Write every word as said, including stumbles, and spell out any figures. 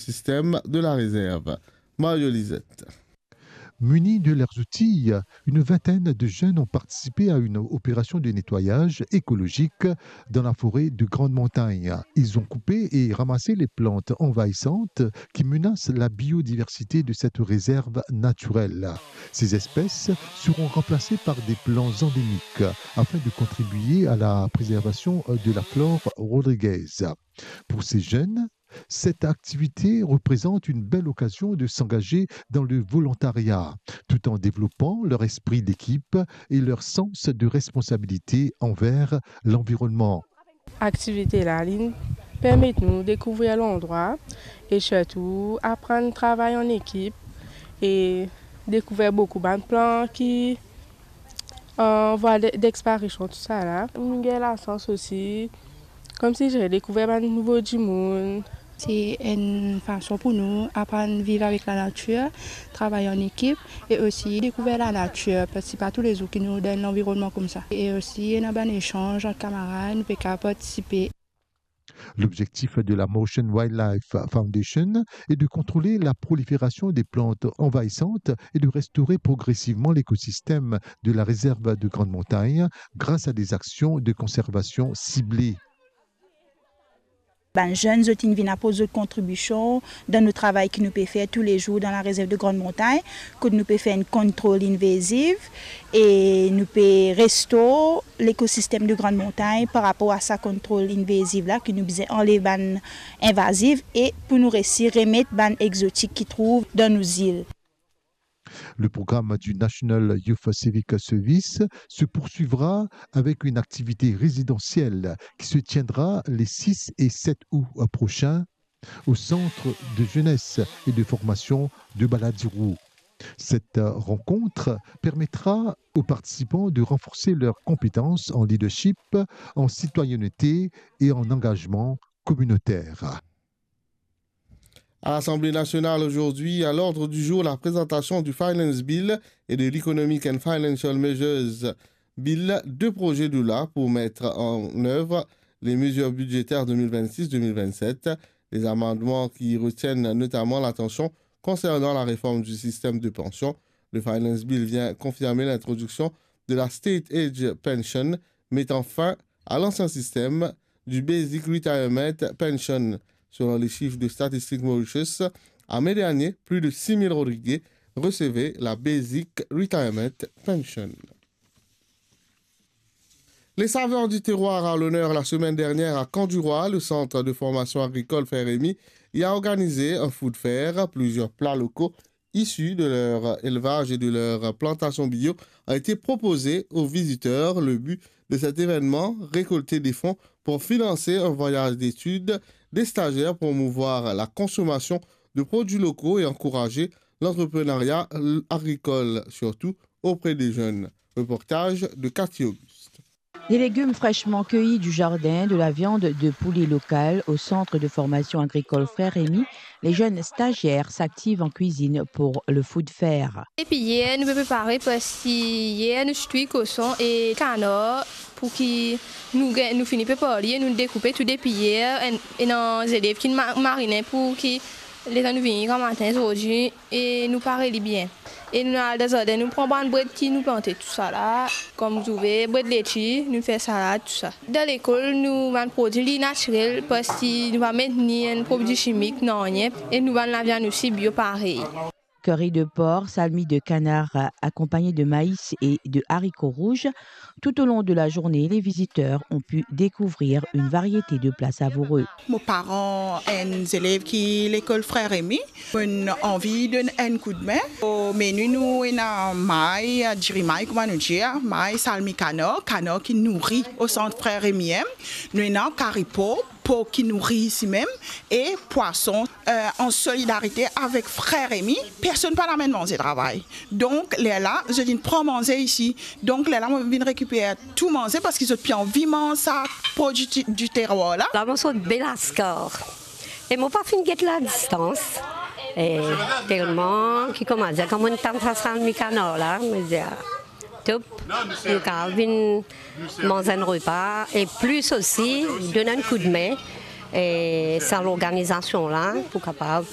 système de la réserve. Mario Lisette. Munis de leurs outils, une vingtaine de jeunes ont participé à une opération de nettoyage écologique dans la forêt de Grande Montagne. Ils ont coupé et ramassé les plantes envahissantes qui menacent la biodiversité de cette réserve naturelle. Ces espèces seront remplacées par des plantes endémiques afin de contribuer à la préservation de la flore rodriguaise. Pour ces jeunes, cette activité représente une belle occasion de s'engager dans le volontariat, tout en développant leur esprit d'équipe et leur sens de responsabilité envers l'environnement. Aktivite la, li permet nou dekouvrir landrwa e sirtou aprann travay an ekip e dekouvrir boukou bann plan ki an vwa de, dexparision, tousala. Nou gagn lasans osi, koumsi zot dekouver bann nouvo dimoun. Se enn fason pou nou aprann viv avek lanatir, travay an ekip e osi dekouver lanatir, parski pa toulezour ki nou dan enn lanvironnman koumsa. E osi ena bann esanz ant kamarad, nou pe kapav partisipe. L'objectif de la Moshan Wildlife Foundation est de contrôler la prolifération des plantes envahissantes et de restaurer progressivement l'écosystème de la réserve de Grande Montagne grâce à des actions de conservation ciblées. Bann zenn, zot inn vinn aport zot kontribision dan nou travay ki nou pe fer toulezour dan la rezerv de Grande Montagne, kot nou pe fer enn kontrol invaziv e nou pe restor lekosistem de Grande Montagne par rapor a sa kontrol invaziv la, ki nou bizin anlev bann invaziv e pou nou resi remet bann exotik ki trouv dan nou zil. Le programme du National Youth Civic Service se poursuivra avec une activité résidentielle qui se tiendra les six et sept août prochains au Centre de jeunesse et de formation de Balladirou. Cette rencontre permettra aux participants de renforcer leurs compétences en leadership, en citoyenneté et en engagement communautaire. À l'Assemblée nationale aujourd'hui, à l'ordre du jour, la présentation du Finance Bill et de l'Economic and Financial Measures Bill, deux projets de loi pour mettre en œuvre les mesures budgétaires deux mille vingt-six deux mille vingt-sept. Les amendements qui retiennent notamment l'attention concernant la réforme du système de pension. Le Finance Bill vient confirmer l'introduction de la State Age Pension, mettant fin à l'ancien système du Basic Retirement Pension. Selon les chiffres de Statistics Mauritius, à mai dernier, plus de six mille Rodriguais recevaient la Basic Retirement Pension. Les saveurs du terroir à l'honneur la semaine dernière à Camp du Roi. Le centre de formation agricole Frère Rémy y a organisé un food fair. Plusieurs plats locaux issus de leur élevage et de leur plantation bio ont été proposés aux visiteurs. Le but de cet événement, récolter des fonds pour financer un voyage d'études, des stagiaires, promouvoir la consommation de produits locaux et encourager l'entrepreneuriat agricole, surtout auprès des jeunes. Reportage de Cathy Auguste. Des légumes fraîchement cueillis du jardin, de la viande de poulet locale. Au centre de formation agricole Frère Rémy, les jeunes stagiaires s'activent en cuisine pour le food fair. Depi yer nou pe prepare, parski yer nou ti touy koson e kanar, pou ki nou gagn, nou fini prepar li e nou dekoupe tou depi yer, e, ena zelev ki ma-, marine pou ki letan nou vini gramatin zordi, e nou pare li bien. E nou al dan zardin, nou pran bann bred ki nou plante, tousala, kom zouver, bred leti, nou fer salad, tousa. Dan lekol, nou bann prodwi li natirel, parski nou pa met ni enn prodwi simik, nanye, e nou bann laviann osi bio parey. Curry de porc, salmi de canard, accompagné de maïs et de haricots rouges. Tout au long de la journée, les visiteurs ont pu découvrir une variété de plats savoureux. Mo paran enn zelev ki lekol Frère Rémy, mo'nn anvi donn enn koudme. O meni nou ena may, diri may, kouma nou dir, may, salmi kanar, kanar ki nouri o sant Frère Rémy. Nou ena kari por, por ki nouri isimem, e pwason, euh, an solidarite avek Frère Rémy, personn pa'nn amenn manze travay. Donk, lerla, zot vinn pran manze isi. Donk, lerla, mo vinn rekiper tou manze parski zot pe anvi manz sa prodwi di, di terwar la. La, mo sot Belascar. E mo pa finn get ladistans. E telman ki kouma dir, kan mo'nn tann sa salmi kanar la, mo dir, top, nou kapav vinn manz enn repa, e plis osi, donn enn koudme, E sa lorganizasion la pou kapav